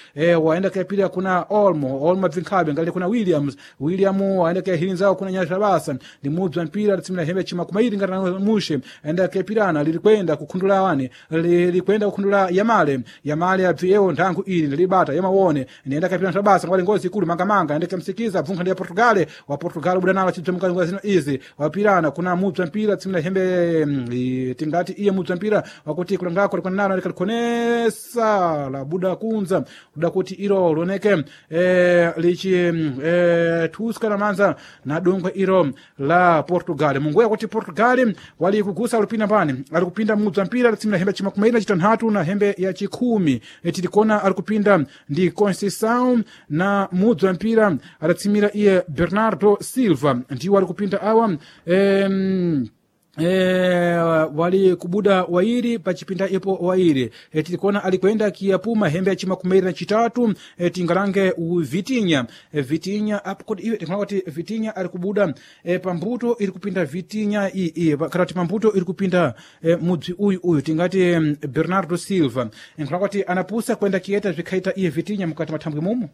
waenda kuyapira kuna Olmo Olmo bvinkhabe ngali kuna Williams William waenda kuyahirinzawo kuna nyasha basa ndi mudzi wa mpira litsimira hembe ya chimakumairi ngatana mushe enda kuyapirana lilikwenda kukhundula wani lilikwenda kukhundula yamale yamale abvi ewo nthangu ili ndilibata yamawone ndiyenda kapira ntabasa ngwali ngozi ikulu mangamanga ende kamsikiza bvunkha ndi ya Portugal wa Portugal buda nalo chibza mukati zino izi wapirana kuna mudzi wa mpira tsimira hembe tingati iye mudzi wa mpira wakuti kulangako likwana nalo likalikhonesa labuda kunza kuda kuti ilo lioneke lichi thuska na manza na dungwe ilo la Portugal munguya kuti Portugal wali kugusa alipinda mbani alikupinda mudzi wa mpira tsimira hembe chimakumairi na chitanthatu na hembe ya chikhumi tilikona alikupinda ndi Conceição na mudzi wa mpira adatsimira iye Bernardo Silva ndiwo alikupinda awa Wali kubuda wairi pachipinda ipo wairi tilikuona alikwenda kiyapuma hembe ya chimakumairi na chitatu tingalange Vitinya Vitinya apo kuti iwe tikuona kuti Vitinya ali kubuda pambuto iri kupinda Vitinya iyi kana kuti pambuto iri kupinda mudzi uyu uyu tingati Bernardo Silva nkuona kuti anapusa kwenda kiyeta zvikhaita iye Vitinya mukati mathambwe mumo.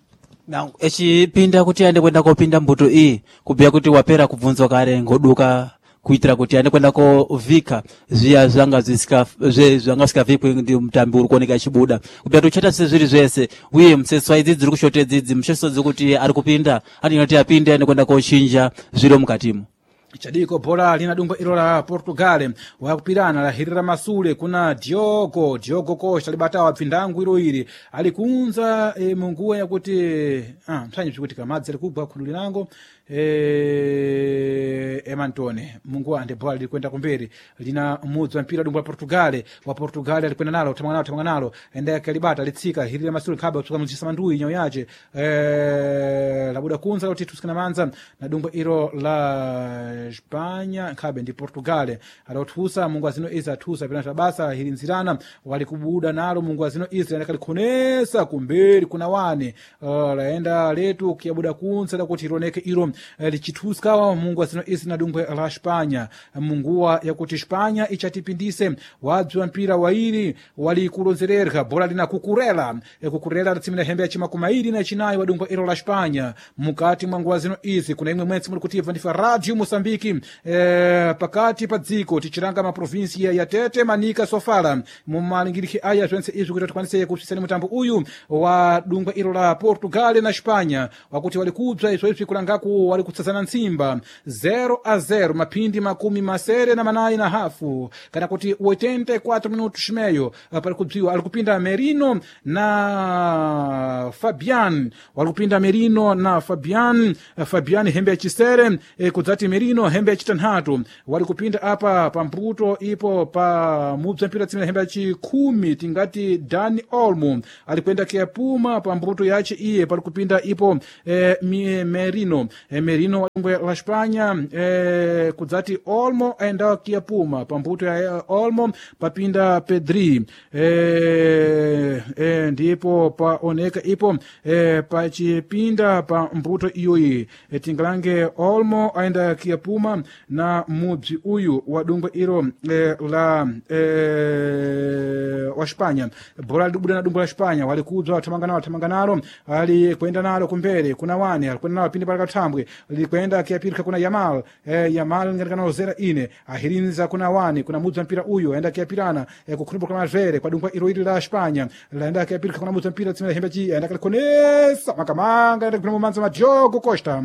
Na echipinda kuti aende kwenda kopinda mbuto iyi kubhuya kuti wapera kubvunzwa kare ngoduka kuitira kuti aende kwenda kovhika zviya zvanga zvanga zvisikavikwi ndi mutambi uri kuoneka achibuda kubhuya kuti uchaita sezviri zvese uye museswa idzi dziri kushota idzidzi museswa dzekuti ari kupinda atinoti apinde aende kwenda kochinja zviro mukatimo. Chadiko bhola lina dungwa ilo la Portugal wakupirana lahirira masule kuna Diogo Diogo Costa libatawa pfindangu ilo ili alikunza munguwa yakuti mtsanyi bzikuti kamadzi alikugwa khundu linango Emantone munguwa ande bhola lilikwenda kumberi lina mudzi wa mpira dungwa la Portugal wa Portugal alikwenda nalo thamanga nalo thamanga nalo ende akalibata litsika hirira masule khaba kutsuka muzisa mandui nyau yace labuda kunza kuti tusikana manza na dungwa ilo la Espanha nkhabe ndi Portugal alothusa mungu azino izi athusa penata basa hilinzirana walikubuda nalo mungu azino izi akalikhonesa kumberi kuna wane laenda letu kuyabuda kunsa lakuti iloneke ilo lichithuska mungu azino izi na dungwe la Espanha munguwa yakuti Espanha ichatipindise wabzi wa mpira wairi walikulonzererha bola lina kukurela kukurela latsimira hembe ya chimakumairi na chinayi wa dungwe ilo la Espanha mukati mwa nguwa zino izi kuna imwe mwentsi muli kutibva ndifa Radio Moçambique pakati pa dziko tichilanga maprovinsia ya Tete, Manika, Sofala mumalingirikhi aya zwense izvi kuti tikwanise kupsisani mutambo uyu wa dungwa ilo la Portugal na Espanha wakuti walikubza izvo izvi kulangaku wali kutsazana ntsimba 0-0 maphindi 74.5 kana kuti 84 minutos meio pali kubziwa ali kupinda Merino na Fabian wali kupinda Merino na Fabian Fabian hembe ya chisere kudzati Merino hembe ya chitanhatu wali kupinda apa pambuto ipo pa mubza mpira tsimira hembe ya chikhumi tingati Dani Olmo alikwenda kiyapuma pambuto yace iye pali kupinda ipo Merino Merino wa la Espanha kudzati Olmo aenda kiyapuma pambuto ya Olmo papinda Pedri ndipo paoneka ipo pachipinda pa mbuto iyoyi tingalange Olmo aenda kiyapuma na mubzi uyu wa dungwe ilo la wa Espanha bora libuda na dungwe la Espanha walikubza wathamanga nalo thamanga nalo alikwenda nalo kumbere kuna wane alikwenda nalo pindi pali kathambwe likwenda kiyapirika kuna Yamal Yamal ngatikana ozera ine ahirinza kuna wane kuna mudzi wa mpira uyu aenda kiyapirana kukhulupha kwa mavere kwa dungwe ilo ili la Espanha laenda kiyapirika kuna mudzi wa mpira tsimira hembe chi aenda kalikonesa makamanga aenda kupina mumanza ma Diogo Costa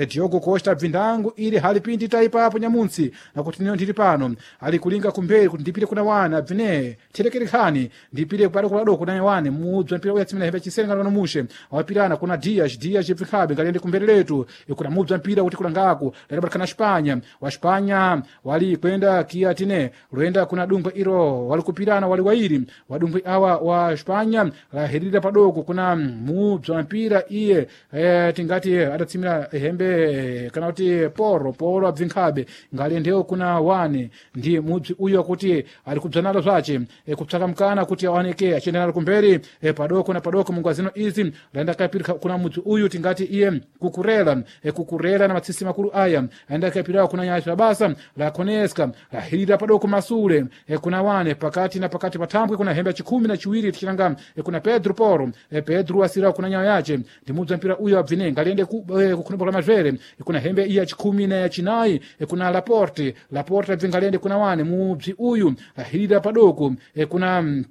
Diogo Costa bvindangu ili halipindi taipapo nyamuntsi nakuti nino ndili pano alikulinga kumberi kuti ndipite kuna wana abvine therekerekhani ndipite pali kuladoko kuna wane mudzi wa mpira uya tsimira hembe chisere ngati mushe wapirana kuna Dias Dias bvinkhabe ngaliyende kumberi letu kuna mudzi wa mpira kuti kulangaku ladabatikana Espanha wa Espanha wali kwenda kia tine lwenda kuna dungwe ilo walikupirana wali wairi wadumbwe awa wa Espanha lahirira padoko kuna mudzi wa mpira iye tingati adatsimira hembe kana kuti poro poro abvinkhabe ngaliyendewo kuna wane ndi mudzi uyu akuti ali kubza nalo zwace kupsaka mkana kuti aoneke achienda nalo kumberi padoko na padoko mungu azino izi laenda kapirika kuna mudzi uyu tingati iye kukurela kukurela na matsisi makulu aya aenda kapirawo kuna nyacho la basa la koneska lahirira padoko masule kuna wane pakati na pakati pathambwe kuna hembe ya chikhumi na chiwiri tichilanga kuna Pedro Poro Pedro asirawo kuna nyayo yace ndi mudzi wa mpira uyu abvine ngaliende kukhunupha kwa mazvere kuna hembe iya chikhumi na yachinayi kuna Laporte Laporte abve ngaliende kuna wane mudzi uyu lahirira padoko kuna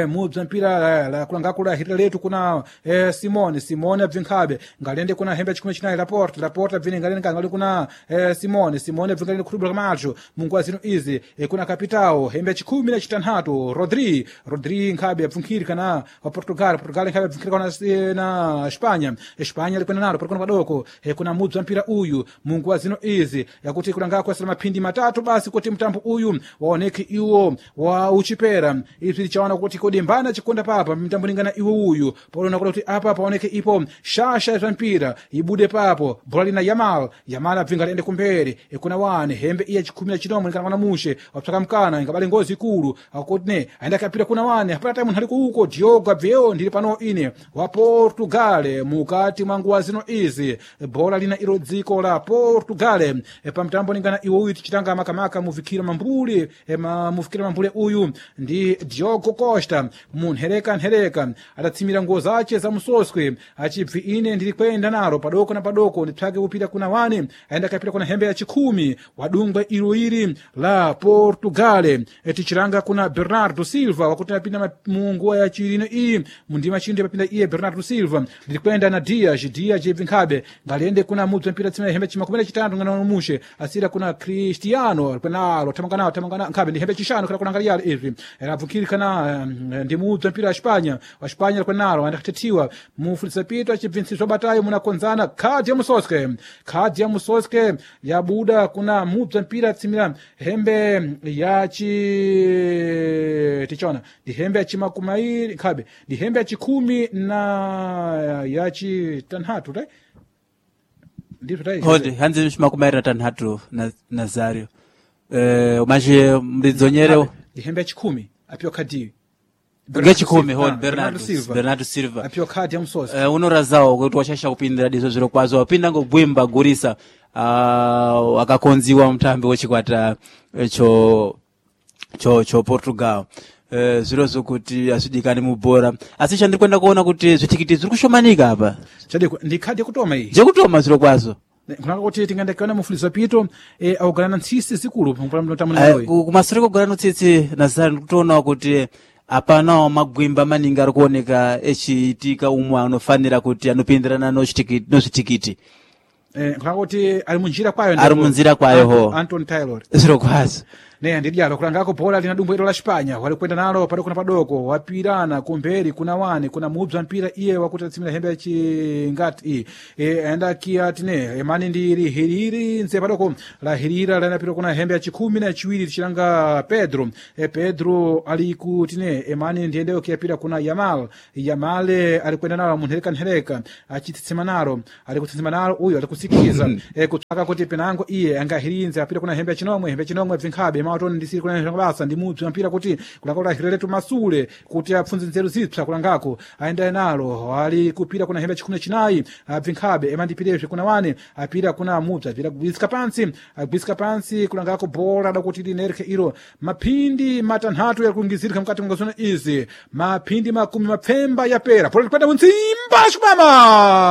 mudzi wa mpira kulangakula lahirira letu kuna Simone Simone abvinkhabe ngalende kuna hembe ya chinayi Laporte Laporte abvine ngalende ngali kuna Simone Simone abve ngalende khulubula kamacho munguwa zino izi kuna Capitao hembe ya 16 Rodri Rodri nkhabe abvinkhiri kana wa Portugal Portugal nkhabe abvinkhiri kana na Espanha Espanha likwenda nalo palikona padoko kuna mudzi wa mpira uyu munguwa zino izi yakuti kulangako asala maphindi matatu basi kuti mtambo uyu waoneke iwo wa uchipera izvi lichaona Kuti kodi mbana chikonda papa mtambo lingana iwe uyu paona kuti apa paoneke ipo shasha ya mpira ibude papo bhola lina Yamal. Yamal abvinga liende kumberi ikuna wane hembe iya chikhumi na chinomwe likana mwana mushe wapsaka mkana ingabale ngozi ikulu akuti ne aenda kapira kuna wane hapana time nthali kuuko. Diogo abveyo ndili pano ine wa Portugal mukati mwa nguwa zino izi bhola lina ilo dziko la Portugal. Pamtambo lingana iwe uyu tichitanga makamaka muvikira mambule muvikira mambule uyu ndi Diogo Costa munhereka nhereka adatsimira nguo zace za musoswe achibvi ine ndili kwenda nalo padoko na padoko ndipsake kupita kuna wane aenda kapita kuna hembe ya chikhumi wadungwe ilo ili la Portugal. Tichilanga kuna Bernardo Silva wakuti apinda mu nguwa ya chilino iyi mundima chinde papinda iye Bernardo Silva ndilikwenda na Dias. Dias ibvi nkhabe ngaliende kuna mudzi mpira tsimira hembe chimakumi na chitatu ngana mushe asira kuna Cristiano kwenalo tamangana tamangana nkhabe ndi hembe chishanu kana kunangaliyalo izvi rabvukiri kana ndi mudzi mpira wa Espanya wa Espanya kwenalo andakutetiwa mufulisa pito achibvintsizwa batayo munakonzana khadi ya musoske. Khadi ya musoske yabuda kuna mudzi mpira tsimira hembe yachi tichona ndi hembe ya chimakumairi nkhabe ndi hembe ya chikhumi na yachitanhatu tai ndizvo tai. Hodi hanzi chimakumairi na tanhatu na Nazario umache mlidzonyere. Ndi hembe ya chikhumi apiwa khadiyi. Ngechikhumi hodi. Bernardo Silva. Bernardo Silva apiwa khadi ya musoske. Unorazawo kuti washasha kupindira dizo zviro kwazo wapinda ngobwimba gurisa akakonziwa mutambi wechikwata cho Portugal. Zviro zvokuti azvidikani mubhora asi chandiri kuenda kuona kuti zvitikiti zviri kushomanika apa. Chadiko ndi khadi yakutoma iyi. Jekutoma zviro kwazo. Kunaka kuti tingandakiona mufulizo pito augalana ntsisi zikulu pamtambo. Kumasure kogara notsitsi Nazari ndikutoona kuti apanawo magwimba maningi ari kuoneka echiitika umwe anofanira kuti anopindirana nozvitikiti. Nkunaka kuti ali munjira kwayo. Ari munzira kwayo ho. Anton Taylor. Zviro kwazo. Ne ndidyalo kulangako bhola lina dumbo ilo la Spanya walikwenda nalo padoko na padoko wapirana kumberi kuna wane kuna mubza mpira iye wakuti atsimira hembe ya chingati iyi aenda kia tine emani ndiri hiriri nse padoko la hirira lanapita kuna hembe ya chikhumi na chiwiri tichilanga Pedro. Pedro ali kutine emani ndiyendeyo kiyapira kuna Yamal. Yamal alikwenda nalo munhereka nhereka achitsitsima nalo ali kutsitsima nalo uyu ali kusikiza kutsvaka kuti penango iye angahirinze apita kuna hembe ya chinomwe. Hembe ya chinomwe bvinkhabe matoni ndisiri kuna basa ndi mudzi mpira kuti kulanga kuti masule kuti apfunze nzeru zipsa kulangako aendaye nalo ali kupira kuna hembe chikhumi na chinayi abvinkhabe emandipirezve kuna wane apira kuna mudzi apira kugwirisika pansi agwirisika pansi kulangako bhola dakuti linereke ilo maphindi matanhatu yakungizirika mukati mwangazona izi maphindi makumi mapfemba yapera bhola likwenda munzimba chimama.